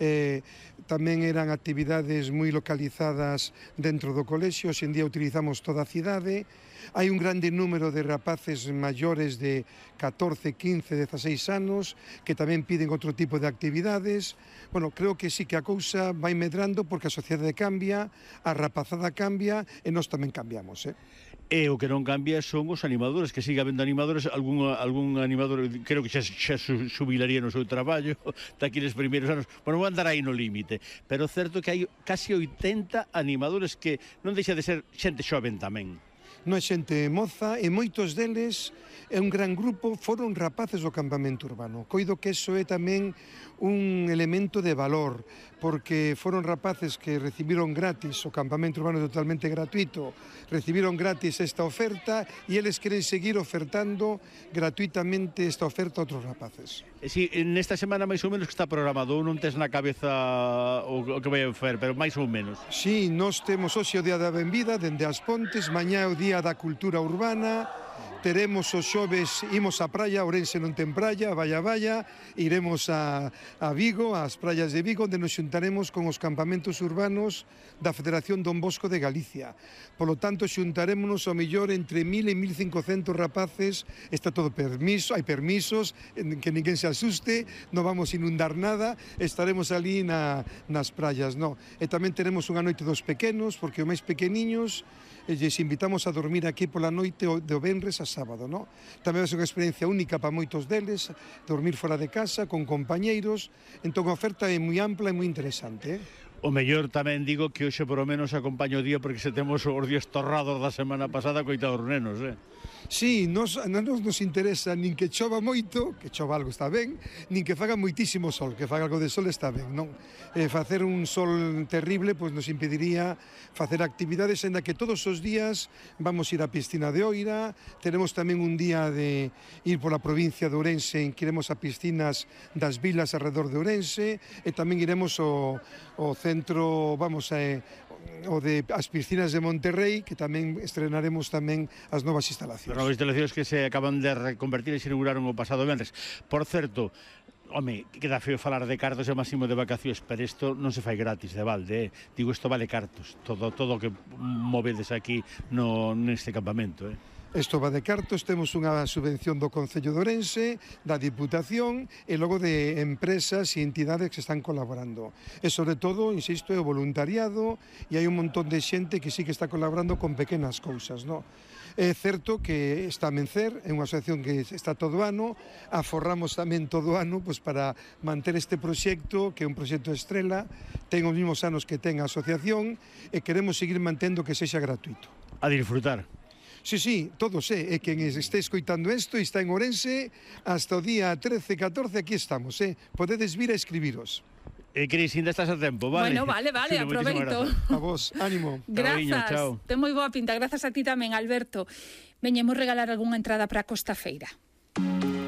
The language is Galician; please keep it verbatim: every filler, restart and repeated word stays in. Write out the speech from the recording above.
Eh, tamén eran actividades moi localizadas dentro do colexio, hoxe en día utilizamos toda a cidade. Hai un grande número de rapaces maiores de catorce, quince, dezaseis anos que tamén piden outro tipo de actividades. Bueno, creo que sí que a cousa vai medrando porque a sociedade cambia, a rapazada cambia e nós tamén cambiamos, eh? E o que non cambia son os animadores, que siga habendo animadores, algún, algún animador creo que xa, xa subilaría no seu traballo daqueles primeiros anos, bueno, vou andar aí no límite, pero certo que hai casi oitenta animadores que non deixa de ser xente xoven tamén. Non é xente moza e moitos deles é un gran grupo, foron rapaces do campamento urbano. Coido que iso é tamén un elemento de valor, porque foron rapaces que recibiron gratis, o campamento urbano é totalmente gratuito, recibiron gratis esta oferta e eles queren seguir ofertando gratuitamente esta oferta a outros rapaces. E si, nesta semana máis ou menos que está programado, ou non tes na cabeza o, o que vai a fer, pero máis ou menos? Si, nós temos hoxe o Día da Benvida, dende as Pontes, mañá é o Día da Cultura Urbana, teremos os xoves, imos á praia, Ourense non ten praia, vaya, vaya, iremos a, a Vigo, ás praias de Vigo, onde nos xuntaremos con os campamentos urbanos da Federación Don Bosco de Galicia. Polo tanto, xuntarémonos ao mellor entre mil e mil cincocentos rapaces, está todo permiso, hai permisos, que ninguén se asuste, non vamos inundar nada, estaremos ali na, nas praias, no. E tamén teremos unha noite dos pequenos, porque os máis pequeniños, e lles invitamos a dormir aquí pola noite do venres a sábado, no? Tamén é unha experiencia única para moitos deles, dormir fora de casa, con compañeiros, entón a oferta é moi ampla e moi interesante, eh? O mellor tamén digo que hoxe por lo menos acompaño o día porque se temos os días torrados da semana pasada coitados nenos, eh? Sí, nos, non nos interesa nin que chova moito, que chova algo está ben, nin que faga moitísimo sol, que faga algo de sol está ben, non? Eh, facer un sol terrible pois nos impediría facer actividades, en da que todos os días vamos ir á piscina de Oira, teremos tamén un día de ir pola provincia de Ourense, en que iremos a piscinas das vilas alrededor de Ourense, e tamén iremos ao, ao centro, vamos a... o de as piscinas de Monterrey, que tamén estrenaremos tamén as novas instalacións. As novas instalacións que se acaban de reconvertir e se inauguraron o pasado venres. Por certo, home, queda feo falar de cartos e máximo de vacacións, pero isto non se fai gratis de balde, eh? Digo, isto vale cartos, todo todo que movedes aquí no, neste campamento, eh? Isto va de cartos, temos unha subvención do Concello de Ourense, da Diputación e logo de empresas e entidades que están colaborando. E sobre todo, insisto, é o voluntariado e hai un montón de xente que sí que está colaborando con pequenas cousas, no? É certo que está a Mencer, é unha asociación que está todo o ano, aforramos tamén todo o ano pois, para manter este proxecto, que é un proxecto estrela, ten os mesmos anos que ten a asociación e queremos seguir mantendo que sexa gratuito. A disfrutar. Sí, sí, todos, eh, e quen este escoitando isto e está en Ourense, hasta o día trece, catorce, aquí estamos, eh. Podedes vir a escribiros. E Cris, ainda estás a tempo, vale? Bueno, vale, vale, Xulo, aproveito. A vos, ánimo. Grazas, ten moi boa pinta, grazas a ti tamén, Alberto. Veñemos regalar algunha entrada para a Costa Feira.